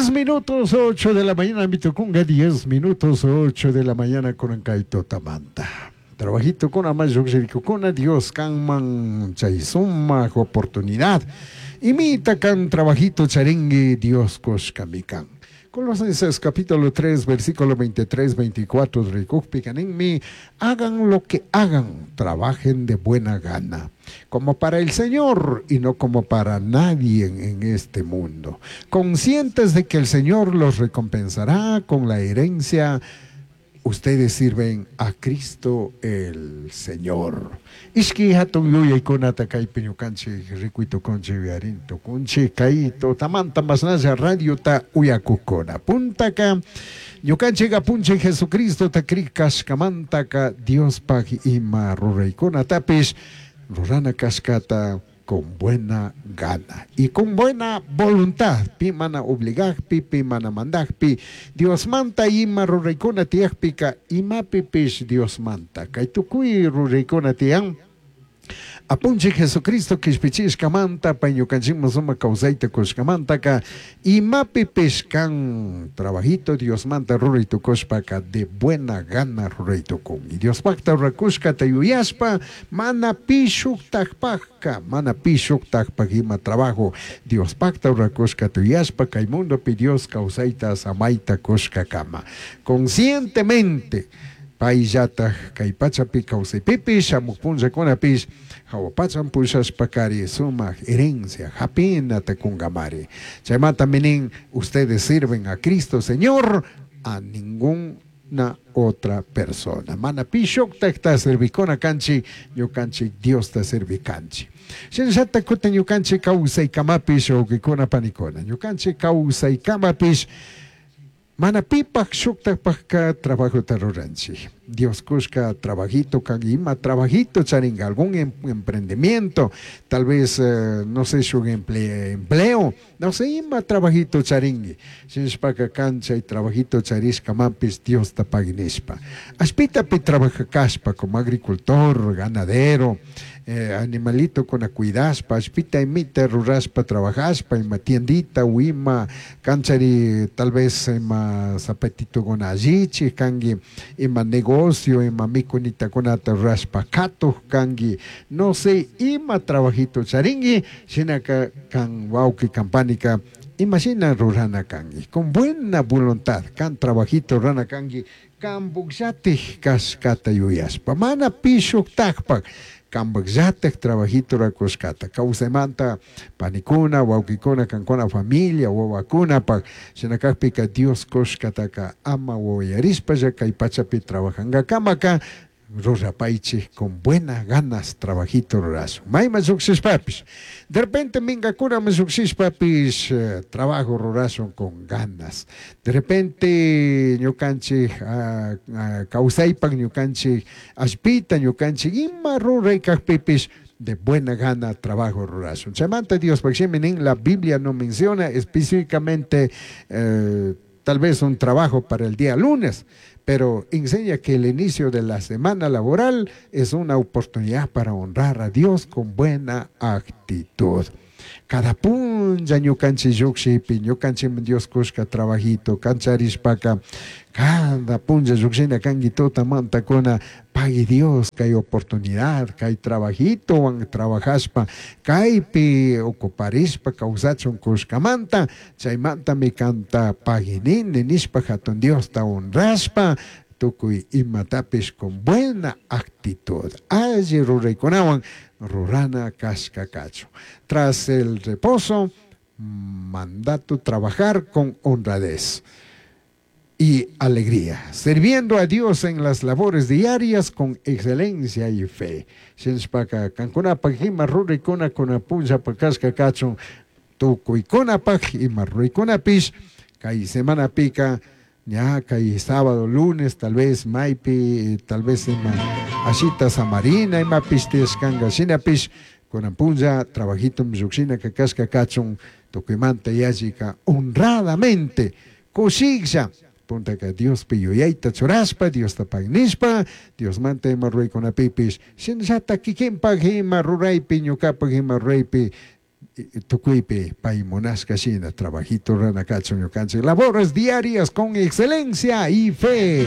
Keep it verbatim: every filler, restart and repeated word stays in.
Diez minutos ocho de la mañana, mi tucunga, diez minutos ocho de la mañana con tutamanta. Trabajito con ama Dios kanman chay sumak oportunidad. Imita kan trabajito charingui Dios kushkami kan. Colosenses capítulo tres, versículo veintitrés, veinticuatro, rikukpi hagan lo que hagan, trabajen de buena gana, como para el Señor y no como para nadie en este mundo, conscientes de que el Señor los recompensará con la herencia. Ustedes sirven a Cristo el Señor. Ishki hatun yuyaykunata kaypi ñukanchik rikuy tukunchik uyarin tukunchik kay tutamanta mashnalla radiota uyakukuna. Puntaka ñukanchik apunchik Jesucristota krik kashkamantaka Diospaj ima ruraykunatapish rurana kashkata con buena gana y con buena voluntad, pi mana obligajpi, pi mana mandajpi, Dios manta ima ruraykuna tiyajpika imapipish Dios manta kay tukuy ruraykuna tiyan. Apunchik Jesucristo kishpichishkamanta pay ñukanchikman sumak kawsayta kushkamantaka imapipish kan trabajito Diosmanta ruray tukushpaka de buena gana ruray tukun. Y Diospakta rurakushkata yuyashpa mana pi shuktakpakka, mana pi shuktakpak ima trabajo Diospakta rurakushkata yuyashpa kay mundopi Dios kawsayta samayta kushkakama. Conscientemente payllataj kay pachapi kawsaypipish shamuq punllakunapish hawa pachan pushashpakari sumak herencia hapinata kunkamari. Chaymanta minin ustedes sirven a Cristo Señor, a ninguna otra persona. Mana pi shuktakta servikuna kanchik, ñukanchik Diosta servikanchik. Shinallata kutin ñukanchik kawsaykamapish wawqikuna panikuna, ñukanchik kawsaykamapish mana pipaj shuktakpajka trabajota ruranchik. Dios kushka trabajito kan ima trabajito charinga algún em, emprendimiento, tal vez eh, no sé shuk emple, empleo, no sé ima trabajito charingui. Shinashpaka kan chay trabajito charishkamapish Diosta paginishpa. Ashpitapi trabaja kashpa como agricultor, ganadero, eh, animalito con cuidaspa, ashpita imita ruraspa trabajaspa, ima tiendita u ima kanchari tal vez ima zapatito con allichi kangi, ima negocio, ima mikunita kunata ruraspa katuj kangi, no sé, ima trabajito charingui, shinaka kan wawqi kampanika, imagina rurana kangi, con buena voluntad, kan trabajito rurana kangi, kan bukllatik kashkata yuyashpa, mana pi shuktakpak, kambakllatak trabajito rakushkata kawsaymanta panikuna wawqikuna kankuna familia wawakunapak shinakakpika Dios kushkataka ama wawayarishpalla kay pachapi trabajankakamaka rurapaychik con buenas ganas trabajito rurashun mayman llukshishpapish de repente minkakunaman llukshishpapish eh, trabajo rurashun con ganas de repente ñukanchik ah, ah, kawsaypak ñukanchik allpita ñukanchik ima ruray kajpipish de buena gana trabajo rurashun. Chaymanta Diospaj shimi nin la Biblia no menciona específicamente eh, tal vez un trabajo para el día lunes, pero enseña que el inicio de la semana laboral es una oportunidad para honrar a Dios con buena actitud. Cada punlla ñukanchik llukshipi, ñukanchik Dios kushka trabajito, kancharishpaka, cada punlla llukshina kanki tutamantakuna, pagui Dios, kay oportunidad, kay trabajito, wan trabajashpa, kaypi ocuparishpa, kawsachun kushkamanta, chaymantami kanta paginini nishpa hatun Diosta honrashpa, tukuy imatapish con buena actitud. Alli ruraykunawan rurana kashka kachun. Tras el reposo, mandato trabajar con honradez y alegría, sirviendo a Dios en las labores diarias con excelencia y fe. Shinashpaka kankunapaj ima ruraykuna kuna punllapaj kashka kachun tukuykunapaj ima ruraykunapish kay semanapika ña kay sábado, lunes, tal vez maypi, tal vez ima ashita samarina imapish tiyashkanka shinapish kunan punlla trabajito llukshina kashka kachun tukuymanta yallika honradamente kushiklla puntaka Diospi yuyayta churashpa, Diosta pagnishpa, Diosmanta ima ruraykunapipish shinallata kikinpak ima ruraypi ñukapak ima ruraypi Tukuypi pay munashka shina trabajito rurana kachun ñukanchik labores diarias con excelencia y fe.